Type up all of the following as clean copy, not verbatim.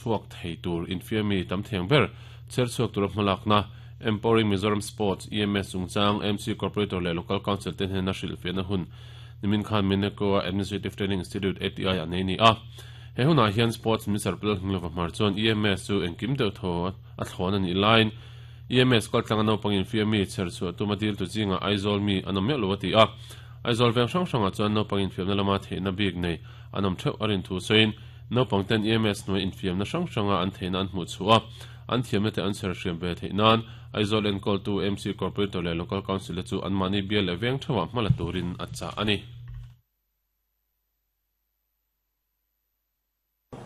Chhuak thei tur infiammi tam theng ber chher chhuak tura hmalakna Empowering Mizoram Sports, EMS, chungchang MC Corporator leh Local Council te hnena hrilhfiahna hun nimin khan Mineco-a Administrative Training Institute, ATI, ah nei a ni a. He hunah hian Sports Minister Pu Lalhminglova Hmar chuan EMS chu engkim deuh thaw a thlawn a nih laiin EMS kaltlanga naupang infiammi chher chhuah tuma diltu zingah Aizawl mi an awm meuh lo a ti a. Aizawl veng hrang hrangah chuan naupang infiamna lama theihna bik nei an awm theuh a rin thu sawiin Naupang ten EMS hnuai infiamna hrang hranga an theihna an hmuh chhuah a, an thiamna te an chher hriam ve theih nan Aizawl enkawltu MC Corporator leh Local Council te chu anmahni bial leh veng theuhah hma la turin a chah a ni.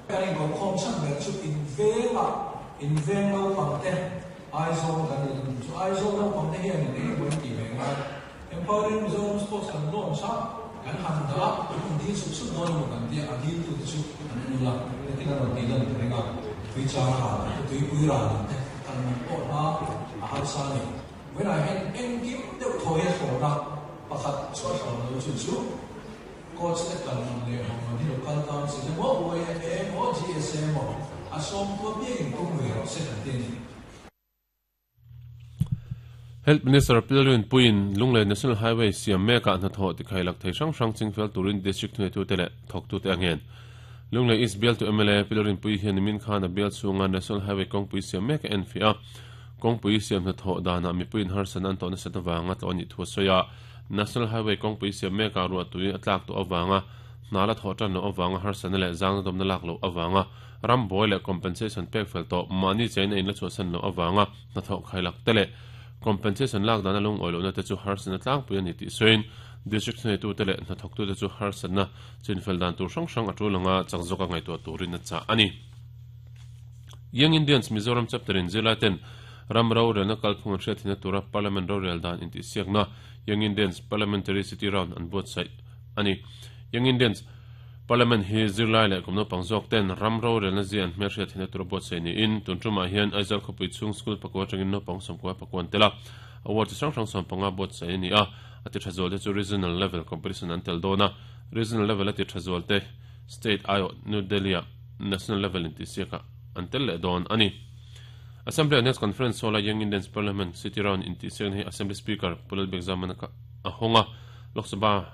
Kan inkawmkhawm chhan ber chu invengah inveng naupang te Aizawl kan ni thung chu Aizawl naupang te hian in engemaw in tih ve ngai. Empowering Mizoram Sports kan launch a, kan han dah a, an rawn dil sup sup dawn emaw kan tia, a diltu te chu an nul a, heti kan rawn tih lan ta reng a, tui chang ral ang te, tuipui ral ang te, kal man pawh hna a harsa a ni. Vawiinah hian engkim deuh thaw hi a thlawn a, pakhat chu a thlawn lo chu chu coach te kal man leh hawng man hi local council emaw, YMA emaw, GSA emaw a sawmtu apiangin tum ve rawh se kan ti a ni. Health Minister Pilrin Puiin Lunglei National Highway siam mekah hnathawh tikhailak thei hrang hrang chingfel turin District thuneitute leh thawktute a ngen. Lunglei East bialtu mla Pilrin Pui hian nimin khan a bial chhunga National Highway kawngpui siam mek a enfiah a, kawngpui siam hnathawh danah mipuiin harsatna an tawh nasat avanga tlawh a nih thu a sawi a. National Highway kawngpui siam mekah ruahtui a tlak tawh avanga hna la thawh tan loh avanga harsatna leh zangna dawmna lak loh avanga Ram buai leh compensation pek fel tawh mahni chain a inla chhuahsan loh avanga hnathawh khailak te leh compensation lak dana lungawi lohna te chu harsatna tlangpui a ni tih sawiin district thuneitute leh hnathawktute chu harsatna chinfel dan tur hrang hrang a tul anga chak zawka ngaihtuah turin a chah a ni. Young Indians Mizoram Chapter in zirlai ten ram rorelna kalphung an hriatthina tura Parliament rorel dan intihsiakna Young Indians Parliamentary City Round an buatsaih a ni. Young Indians Parliament hi zirlai leh kum naupang zawk ten ram rorelna zia an hmelhriat theihna tur a buatsaih niin tun tumah hian Aizawl khawpui chhung school pakua atangin naupang sawmkua pakua an tel a, award chi hrang hrang 15 buatsaih a ni a, a ti tha zual te chu Regional level competition an tel dawn a, Regional level a ti tha zual te State aiawh New Delhi ah National level intihsiakah an tel leh dawn a ni. Assembly Annex Conference Hall a Young Indians Parliament City Round intihsiakna hi Assembly Speaker Pu Lalbiakzamana a hawng a, Lok Sabha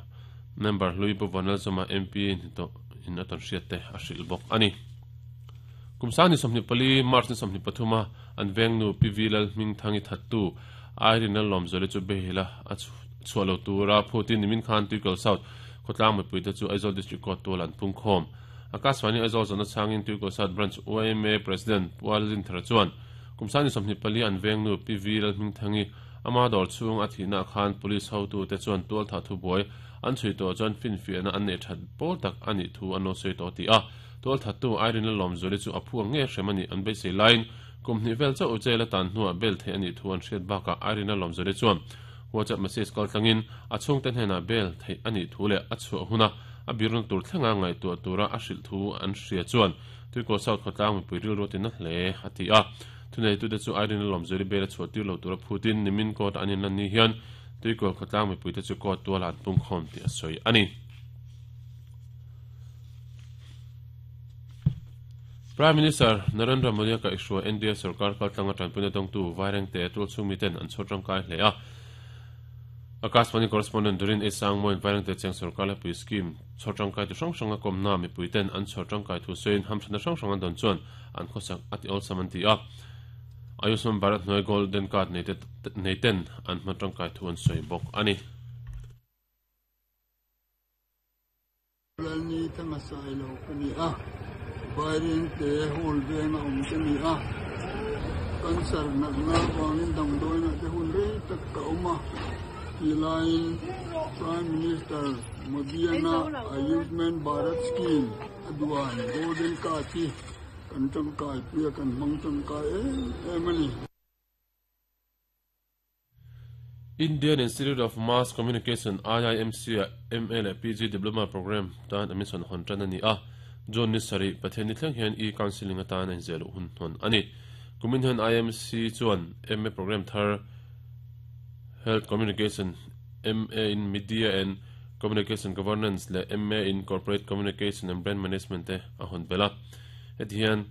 Member hlui Pu Vanlalzawma MP ni tawh in a tawn hriat te a hrilh bawk a ni. Kum sang ni 24 March ni 23 a an vengnu Pi V Lalhmingthangi thattu Irene Lallawmzuali chu Behila a chhuah lo tura phutin nimin khan Tuikal South khawtlang mipui te chu Aizawl District Court tual an pung khawm. Akashvani Aizawl zawhna chhangin Tuikal South Branch yma President Pu Lalrinthara chuan kum sang ni 24 an vengnu Pi V Lalhmingthangi Ama dawr chhung a thihna khan police hotute chuan tualthah thubuai an chhui tawh chuan finfiahna an neih that pawl tak a nih thu an lo sawi tawh tih a tualthattu Irene Lalawmzuali chu a phu ang nge hrem a nih an beisei laiin kum hnih vel chauh jail a tan hnuah bail theih a nih thu an hriat bakah Irene Lalawmzuali chuan WhatsApp message kaltlangin a chhungte hnenah bail theih a nih thu leh a chhuah huna a birna tur thlenga ngaihtuah tura a hrilh thu an hria chuan Tuikaw South khawtlang mipui rilru a tina hle a ti a. Thuneitute chu Irene Lawmzuali bel a chhuah tir lo tura phutin nimin court an inlan ni hian Tuikawl khawtlang mipuite chu court tualah an pungkhawm tih a sawi a ni. Prime Minister Narendra Modi a kaihhruai NDA sorkar kaltlanga tanpuina dawngtu Vairengte tualchhung miten an chhawr tangkai hle a. Akashvani correspondent Dorin A. Sangmoin Vairengte cheng sorkar lepui scheme chhawr tangkai tu hrang hranga kawmna mipuiten an chhawr tangkai thu sawiin hamthatna hrang hrang an dawn chuan an khawsak a ti awlsam an ti a. Ayushman Bharat hnuai Golden Card nei ten an hman tangkai thu an sawi bawk a ni. Lalni thanga sai lo ka ni a, Vairengte hall venga awm ka ni a, cancer natna avangin damdawiinah te hun rei tak ka awm a, tih laiin Prime Minister Modi-ana Ayushman Bharat Scheme a duan Golden Card hi kan tangkai pui a, kan hmang tangkai em em a ni. Indian Institute of Mass Communication, IIMC, ah MA leh PG Diploma Programme tan admission hawn tan a ni a, June ni sarih, Pathianni thleng hian e-counselling atan a inziah luh hun hawn a ni. Kumin hian IIMC chuan MA Programme thar Health Communication, MA in Media and Communication Governance leh MA in Corporate Communication and Brand Management te a hawn belh a. Heti hian.